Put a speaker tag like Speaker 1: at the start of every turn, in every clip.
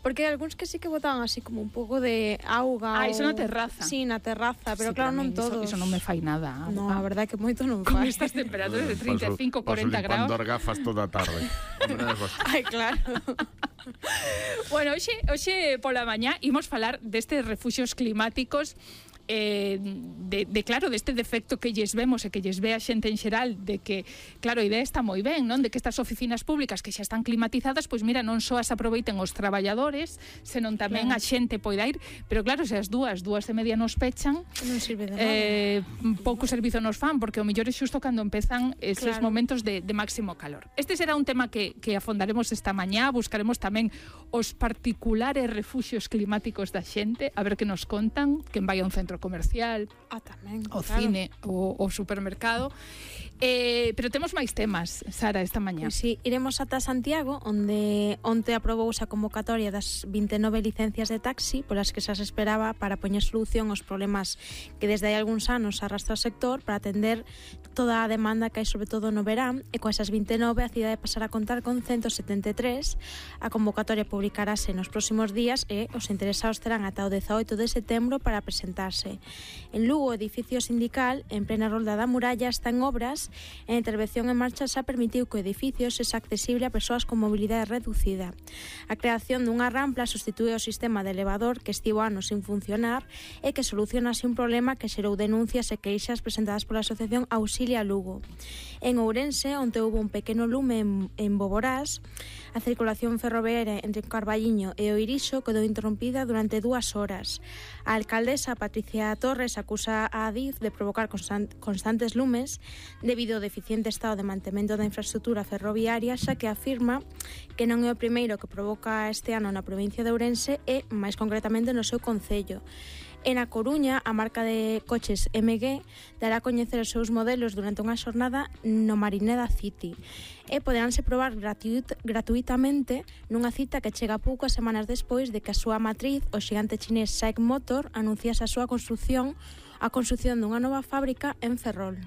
Speaker 1: Porque hai algúns que sí que botaban así como un pouco de auga.
Speaker 2: Iso na terraza.
Speaker 1: Sí, na terraza, pero claro, non todos.
Speaker 2: Iso non me fai nada.
Speaker 1: No, a verdade que moito non
Speaker 2: Con
Speaker 1: fai.
Speaker 2: estas temperaturas de 35, 40 graus.
Speaker 3: Paso limpando as gafas toda a tarde.
Speaker 1: Ai, claro.
Speaker 2: Bueno, hoxe pola mañá imos falar destes refuxios climáticos, claro, deste defecto que lles vemos e que lles ve a xente en xeral, de que, claro, a idea está moi ben, non? De que estas oficinas públicas que xa están climatizadas, pois mira, non só as aproveiten os traballadores, senón tamén a xente poida ir, pero claro, se as 2:30 nos pechan,
Speaker 1: non sirve de nada.
Speaker 2: Pouco servizo nos fan, porque o mellor é xusto cando empezan esos momentos de máximo calor. Este será un tema que afondaremos esta mañá, buscaremos tamén os particulares refuxios climáticos da xente, a ver que nos contan, quen vai a un centro comercial,
Speaker 1: tamén,
Speaker 2: o cine, o supermercado. Pero temos máis temas, Sara, esta mañá.
Speaker 1: Pois sí, iremos ata Santiago, onde onte aprobouse a convocatoria das 29 licencias de taxi polas que xa se esperaba para poñer solución aos problemas que desde hai algúns anos arrastra o sector para atender toda a demanda que hai sobre todo no verán, e con esas 29 a cidade pasará a contar con 173. A convocatoria publicarase nos próximos días e os interesados terán ata o 18 de setembro para presentarse. En Lugo, o edificio sindical, en plena rolda da muralla, está en obras e a intervención en marcha xa permitiu que o edificio sexa accesible a persoas con mobilidade reducida. A creación dunha rampla substitúe o sistema de elevador que estivo anos sin funcionar e que soluciona así un problema que xerou denuncias e queixas presentadas pola Asociación Auxilia Lugo. En Ourense, onde houve un pequeno lume en Boborás, a circulación ferroviaria entre Carballiño e o Irixo quedou interrompida durante 2 horas. A alcaldesa Patricia Torres acusa a Adif de provocar constantes lumes debido ao deficiente estado de mantemento da infraestructura ferroviaria, xa que afirma que non é o primeiro que provoca este ano na provincia de Ourense e, máis concretamente, no seu concello. En A Coruña, a marca de coches MG dará a coñecer os seus modelos durante unha xornada no Marineda City e poderánse probar gratuitamente nunha cita que chega poucas semanas despois de que a súa matriz, o xigante chinés SAIC Motor, anunciase a súa construción dunha nova fábrica en Ferrol.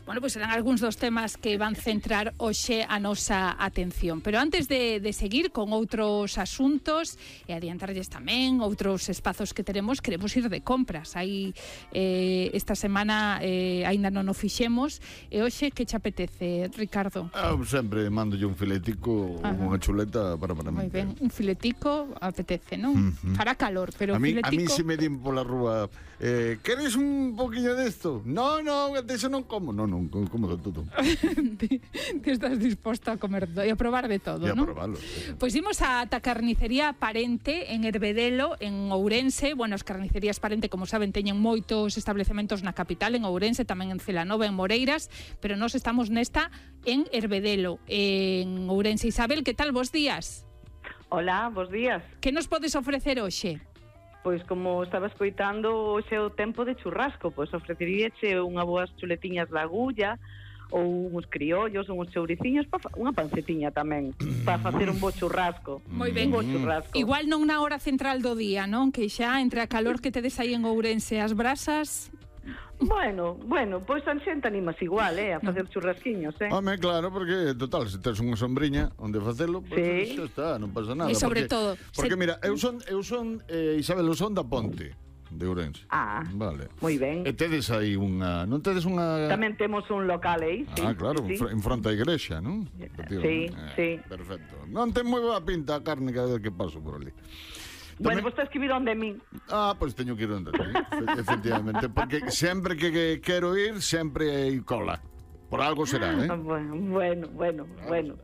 Speaker 2: Bueno, pois serán algúns dos temas que van centrar hoxe a nosa atención. Pero antes de seguir con outros asuntos e adiantarlles tamén outros espazos que teremos, queremos ir de compras. Aí esta semana aínda non o fixemos. E hoxe que che apetece, Ricardo?
Speaker 3: Sempre mándolle un filetico, unha chuleta para mí.
Speaker 2: Moi ben, un filetico apetece, non? Fará calor, pero
Speaker 3: a mí
Speaker 2: filetico...
Speaker 3: se me din pola rúa, queres un poquinho desto? No, deso non como. Non, como de todo.
Speaker 2: Que estás disposto a comer e a probar de todo, non?
Speaker 3: E a probarlo, sí.
Speaker 2: Pois imos a Carnicería Parente en Herbedelo, en Ourense. Bueno, as carnicerías Parente, como saben, teñen moitos establecementos na capital, en Ourense, tamén en Celanova, en Moreiras, pero nós estamos nesta en Herbedelo, en Ourense. Isabel, que tal? Bos días.
Speaker 4: Hola, bos días.
Speaker 2: Que nos podes ofrecer hoxe?
Speaker 4: Pois como estaba escoitando, hoxe é o tempo de churrasco, pois ofreceríache unha boas chuletiñas de agulla ou uns criollos, ou uns chouriciños, unha pancetiña tamén, para facer un bo churrasco.
Speaker 2: Moi ben.
Speaker 4: Un bo churrasco.
Speaker 2: Igual non na hora central do día, non? Que xa entre a calor que tedes aí en Ourense as brasas...
Speaker 4: Bueno, pois a xente animas igual, a facer churrasquiños,
Speaker 3: Home, claro, porque, total, se tes unha sombriña onde facelo, pois xa está, non pasa nada.
Speaker 2: E sobre todo...
Speaker 3: Porque mira, eu son Isabel, eu son da Ponte de Ourense. Vale.
Speaker 4: Moi ben.
Speaker 3: E tedes aí unha... Non tedes unha...
Speaker 4: Tamén temos un local aí, sí.
Speaker 3: Claro,
Speaker 4: sí.
Speaker 3: En fronte á igrexa, non?
Speaker 4: Sí.
Speaker 3: Perfecto. Non ten moi boa pinta a carne cada vez que paso por ali.
Speaker 4: Bueno, vos tens que vir onde mí.
Speaker 3: Pois teño que ir onde ti, efectivamente, porque sempre que quero ir, sempre hai cola. Por algo será,
Speaker 4: Bueno.
Speaker 2: Bueno,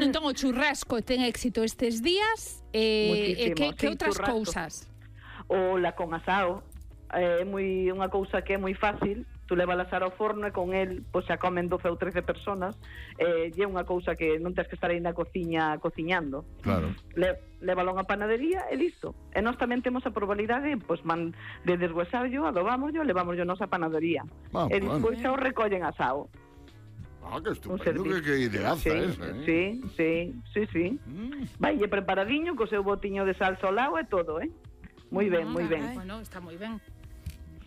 Speaker 2: entón o churrasco ten éxito estes días. Que outras cousas?
Speaker 4: O la con asao, é unha cousa que é moi fácil. Tú levalas ao forno e con el pois xa comen 12 ou 13 personas, e é unha cousa que non tens que estar aí na cociña cociñando.
Speaker 3: Claro.
Speaker 4: Lévalo a unha panadería e listo. E nós tamén temos a probabilidade pois de deshuesarlo, adobámoslo, levámoslo a nosa panadería. E despois xa o recollen asado.
Speaker 3: Que estupendo, que ideaza esa,
Speaker 4: Sí. Vaille preparadiño, co seu botiño de salsa ao lado e todo, Moi ben.
Speaker 2: Bueno, está moi ben.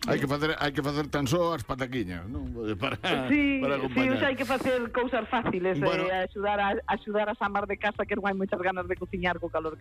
Speaker 3: Hai que facer tan só as pataquiñas, non? Para acompañar.
Speaker 4: Hai que facer cousas fáciles, axudar a samar de casa, que non hai moitas ganas de cociñar co calor